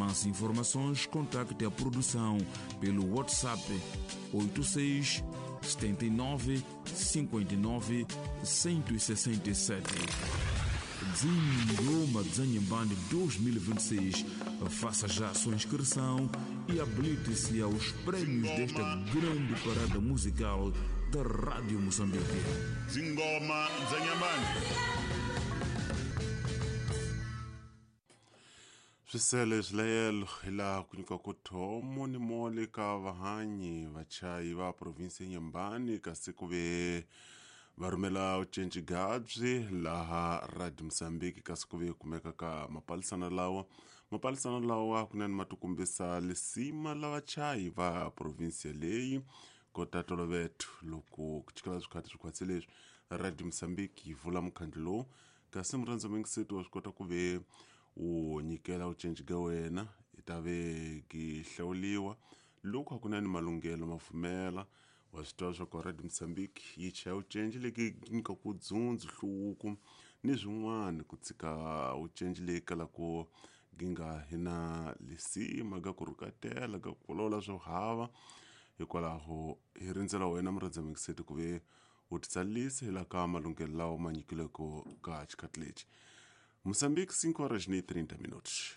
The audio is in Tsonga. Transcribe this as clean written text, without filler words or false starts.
Mais informações, contacte a produção pelo WhatsApp 86 79 59 167. Dzingoma Dzanhambane 2026. Faça já a sua inscrição e habilite-se aos prêmios desta grande parada musical da Rádio Moçambique. Dzingoma Dzanhambane. Swisele swilayelo hi laha ku nyika ku thomo ni mole ka vahanyi vachayi va provinsi ya Nyembani kasi ku ve va rhumela ucinci gabyi laha Radio Mozambique kasi ku ve kumeka ka mapalisana lawa mapalisana lawa kunene ma tikombisa lisima la vachayi va provinsi leyi kota toloveto loko ku chikela swikhati swikhwatsi leswi Radio Mozambique yi vula mukhandlu lowu kasi murhandzi mingiseti wa swi kota ku ve u nyikela ucinci ka wena i ta ve ki hlawuliwa loko hakunene malunghelo ma pfumela wa swi tiva swa ku Radio Mozambique yi chaya ucinci leki nyikaku dzundzu hluvuko ni swin'wana ku tshika ucinci leyi kalaka gi nga hi na lisima ga ku rhukatela ga ku vulavula swo hava hikwalaho hi rindzela wena murhandzi mingiseti ku ve u titsalisa hi la ka malunghelo lawa ma nyikileke ka xikhathi lexi. Moçambique, 5 horas e 30 minutos.